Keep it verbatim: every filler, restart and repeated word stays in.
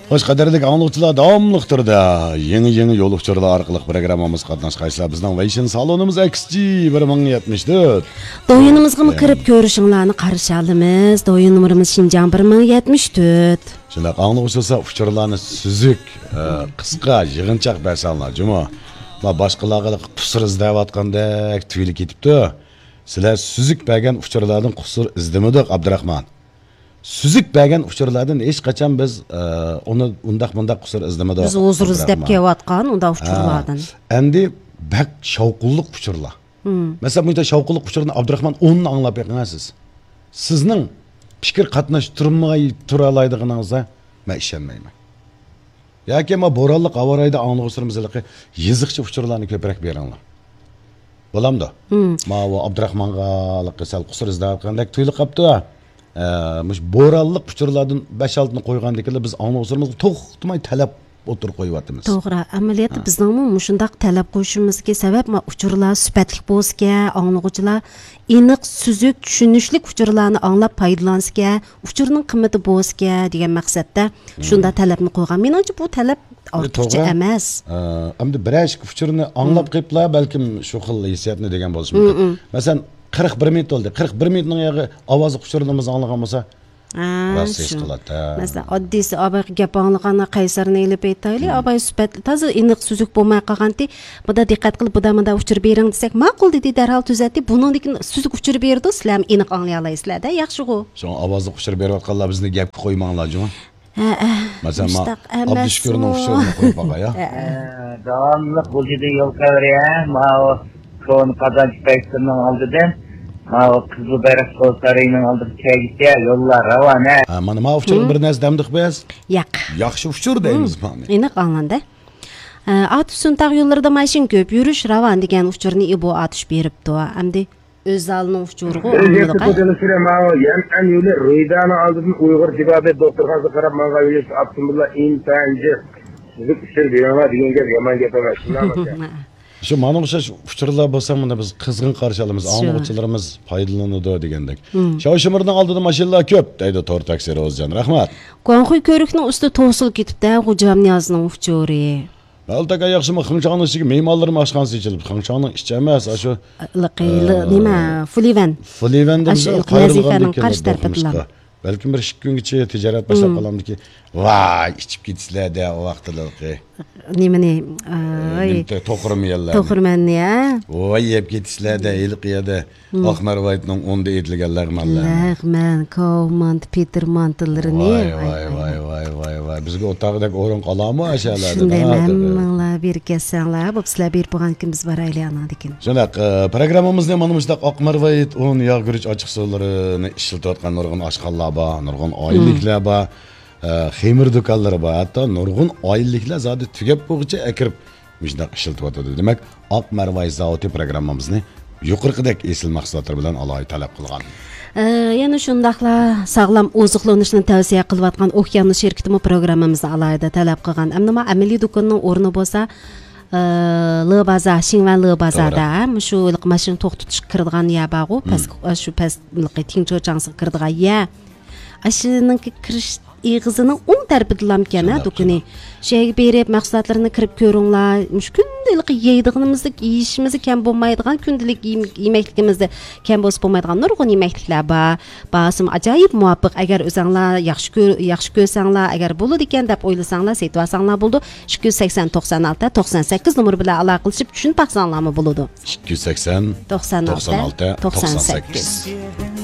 خوش، قەدىرلىك ئاڭلىغۇچىلار، داۋاملىق تۈردە يېڭى-يېڭى يول ئۇچۇرلار ئارقىلىق پروگراممىمىزغا قاتناشقايسىلەر. بىزنىڭ ۋېيشىن سالونىمىز ئەكس جى بىر مىڭ يەتمىش تۆت. دويىنىمىزغىمۇ كىرىپ كۆرۈشۈڭلارنى قارشى ئالىمىز. دويىن نومۇرىمىز شىنجاڭ بىر مىڭ يەتمىش تۆت. شۇنداق، ئاڭلىغۇچى بولسا ئۇچۇرلارنى سۈزۈك، ئە، قىسقا، يىغىنچاق بەرسەڭلار جۇمۇ. ما باشقىلارغا قۇسۇر ئىزدەۋاتقاندەك تۇيۇلۇپ كېتىپتۇ. سىلەر سۈزۈك بەرگەن ئۇچۇرلاردىن قۇسۇر ئىزدىمىدۇق، ئابدۇراخمان. سۈزۈك بەرگەن ئۇچۇرلاردىن ھېچقاچان بىز، ئە، ئۇنى ئۇنداق مۇنداق قۇسۇر ئىزدىمىدۇق، بىز ھۇزۇر ئىزدەپ ئابدۇراخمان. كېلىۋاتقان ئۇنداق ھە. ئۇچۇرلاردىن. ئەمدى بەك شاۋقۇنلۇق ئۇچۇرلار. مم. مەسىلەن، بۇ يەردە شاۋقۇنلۇق ئۇچۇرنى ئابدۇراخمان ئوننى ئاڭلاپ بېقىڭ سىز. سىزنىڭ پىكىر قاتناشتۇرماي تۇرالايدىغىنىڭىزغا مەن ئىشەنمەيمەن. ياكى ما بورانلىق ھاۋا رايىدا ئاڭلىغۇچىلىرىمىز ھېلىقى يېزىقچە ئۇچۇرلارنى كۆپرەك بېرىڭلار. بولامدۇ؟ مم. ماۋۇ ئابدۇراخمانغا ھېلىقى سەل قۇسۇر ئىزدەۋاتقاندەك تۇيۇلۇپ قاپتۇ. ئە، مۇشۇ بورانلىق ئۇچۇرلاردىن بەش-ئالتىنى قويغاندىكىنلا بىز ئاڭلىغۇچىلىرىمىزغا توختىماي تەلەپ ئوتتۇرىغا قويۇۋاتىمىز. توغرا. ئەمەلىيەتتە ھە. بىزنىڭمۇ مۇشۇنداق تەلەپ قويۇشىمىزدىكى سەۋەب، ما، ئۇچۇرلار سۈپەتلىك بولسىكەن، ئاڭلىغۇچىلار ئېنىق، سۈزۈك، چۈشىنىشلىك ئۇچۇرلارنى ئاڭلاپ پايدىلانسىكەن، ئۇچۇرنىڭ قىممىتى بولسىكەن دېگەن مەقسەتتە شۇنداق تەلەپنى قويغان. مېنىڭچە بۇ تەلەپ ئارتۇقچە توغرا. ئەمەس. ئە، ئەمدى بىرەر ئىككى ئۇچۇرنى ئاڭلاپ قېلىپلا بەلكىم شۇ خىل ھېسسىياتنى دېگەن بولۇشى مۇمكىن. مەسىلەن، قىرىق بىر مىنۇت بولدى. قىرىق بىر مىنۇتنىڭ ياغى ئاۋازلىق ئۇچۇرنى بىز ئاڭلىغان بولسا، راست ھېس شۇ. قىلاتتى. مەسىلەن، ئاددىيسى ئابايغا گەپ ئاڭلىغاندا قەيسەرنى ئېلىپ ئېيتايلى، ئاباي سۈپەتلىك، تازا ئېنىق سۈزۈك بولماي قالغانتى. بۇدا دىققەت قىلىپ، بۇدا مۇندا ئۇچۇر بېرىڭ دېسەك، ماقۇل دېدى، دەرھال تۈزەتتى. بۇنىڭدىن كېيىن سۈزۈك ئۇچۇر بېرىدۇ، سىلەرمۇ ئېنىق ئاڭلىيالايسىلەر-دە، ياخشىغۇ. شۇڭا ئاۋازلىق ئۇچۇر بېرىۋاتقانلار بىزنى گەپكە قويماڭلار جۇمۇ. ھەئە، مەسىلەن، مۇشتاق ئەمەسمۇ. ئابدۇشۈكۈرنىڭ ئۇچۇرىنى قويۇپ باقاي، ھە؟ ھەئە. داۋاملىق بۇ يەردە يول قىلىۋېرە، ماۋۇ كونا قازانچى پەيسىرنىڭ ئالدىدىن، ماۋۇ قىزىل بايراق سارىيىنىڭ ئالدىغا كەلگۈچە يوللار راۋان، ھە. ھە، مانا، ماۋۇ ئۇچۇرغا بىر نەرسە دەمدۇق بىز. ياق. ياخشى ئۇچۇر دەيمىز مانا. ئېنىق ئاڭلاندى. ئە، ئاتۇش سۇنتاغ يوللىرىدا ماشىنا كۆپ، يۈرۈش راۋان دېگەن ئۇچۇرنى ئىبو ئاتۇش بېرىپتۇ. ئەمدى ئۆزالنىڭ ئۇچۇرىغۇ ئۆزى ئاڭلىدۇق، ھە؟ يەنئەن يولى رۇيدانىڭ ئالدىدىن ئۇيغۇر تېبابەت دوختۇرخانىسىغا قاراپ ماڭغان يۆنىلىشتە ئاپتوموبىللار ئىنتايىن جىق. سۈزۈك ئۇچۇر بېرىڭلار دېگەن گەپ يامان گەپ ئەمەس. شۇنداقمۇ؟ شۇ مانا ئوخشاش ئۇچۇرلار بولسا، مانا بىز قىزغىن قارشى ئالىمىز، شۇ. ئاڭلىغۇچىلىرىمىز پايدىلىنىدۇ دېگەندەك. شاۋشىمىرنىڭ ئالدىدا ماشىنىلار كۆپ، دەيدۇ تور تاكسى روزىجان. رەھمەت. گۇاڭخۇي كۆۋرۈكنىڭ ئۈستى توسۇلۇپ كېتىپتۇ، غوجامنىيازنىڭ ئۇچۇرى. مەلتەكە ياخشىمۇ؟ خېڭشاڭنىڭ ئىچىگە مېھمانلىرىمۇ ئاشخانىسى ئېچىلىپ، خېڭشاڭنىڭ ئىچى ئەمەس، ئاشۇ، لىقى، ئە، نېمە، فۇلىۋەن. فۇلىۋەن دېمىسە، ئاشۇ قايرىلغاندىن كېيىن بەلكىم بىر ئىككى كۈنگىچە تىجارەت باشلاپ قالامدىكى، ۋاي، ئىچىپ كېتىسىلەر-دە ئۇ ۋاقىتلىقى. نېمىنى؟ ئاي، نېمە، توخۇرمۇ يەللەرنى؟ توخۇرمەننى، ھە؟ ۋاي، يەپ كېتىسىلەر-دە ھېلىقى يەردە. ئاق مەرۋايىتنىڭ ئۇندا ئېتىلگەن لەغمەنلەر. لەغمەن، كاۋمانت، پېتىر مانتىلىرىنى. ۋاي، ۋاي، ۋاي، ۋاي، ۋاي، ۋاي. بىزگە ئولتۇرغۇدەك ئورۇن قالامۇ ئاشۇ يەرلەردە؟ شۇندايمۇ، ھەممىڭلار بېرىپ كەتسەڭلار، بوپتۇ، سىلەر بېرىپ بولغاندىن كېيىن بىز بارايلى ئاناندىن كېيىن. شۇنداق، ئە، پروگراممىمىزنى مانا مۇشۇنداق ئاق مەرۋايىت ئۇن، ياغ، گۈرۈچ ئاچچىقسۇلىرىنى ئىشلىتىۋاتقان نۇرغۇن ئاشخانىلار بار، نۇرغۇن ئائىلىلىكلەر بار، ئە، خېمىر دۇكانلىرى بار. ھەتتا نۇرغۇن ئائىلىلىكلەر زادى تۈگەپ بولغۇچە ئەكىرىپ مۇشۇنداق ئىشلىتىۋاتىدۇ. دېمەك، ئاق مەرۋايىت زاۋۇتى پروگراممىمىزنى يۇقىرىقىدەك ئېسىل مەھسۇلاتلار بىلەن ئالاھىدە تەلەپ قىلغان. ئە، يەنە شۇنداقلا ساغلام ئوزۇقلىنىشنى تەۋسىيە قىلىۋاتقان ئوكيانوس شىركىتىمۇ پروگراممىمىزنى ئالاھىدە تەلەپ قىلغان. ئەمدى ما ئەمەلىي دۇكاننىڭ ئورنى بولسا، ئە، لې بازار، شىڭۋەن لې بازاردا، توغرا. ھە، مۇشۇ ھېلىقى ماشىنا توختىتىشقا كىرىدىغان يەر بارغۇ، پەس، شۇ پەس، ھېلىقى تىڭچو چاڭسىغا كىرىدىغان يەر. ئاشۇنىڭكى كىرىش ئېغىزىنىڭ ئوڭ تەرىپىدىلا ئىكەن، ھە، دۇكىنى. شۇ يەرگە بېرىپ، مەھسۇلاتلىرىنى كىرىپ كۆرۈڭلار. مۇشۇ كۈندىلىك يەيدىغىنىمىزدەك يېيىشىمىزدە كەم بولمايدىغان، كۈندىلىك يېم-، يېمەكلىكىمىزدە كەم بولسا بولمايدىغان نۇرغۇن يېمەكلىكلەر بار. باھاسىمۇ ئاجايىپ مۇۋاپىق. ئەگەر ئۆزەڭلار ياخشى كۆر-، ياخشى كۆرسەڭلار، ئەگەر بولىدىكەن دەپ ئويلىساڭلار، سېتىۋالساڭلار بولىدۇ. ئىككى يۈز سەكسەن، توقسان ئالتە، توقسان سەككىز نومۇر بىلەن ئالاقىلىشىپ چۈشىنىپ باقساڭلارمۇ بولىدۇ. ئىككى يۈز سەكسەن، توقسان ئالتە، توقسان ئالتە، توقسان سەككىز. توقسان سەككىز.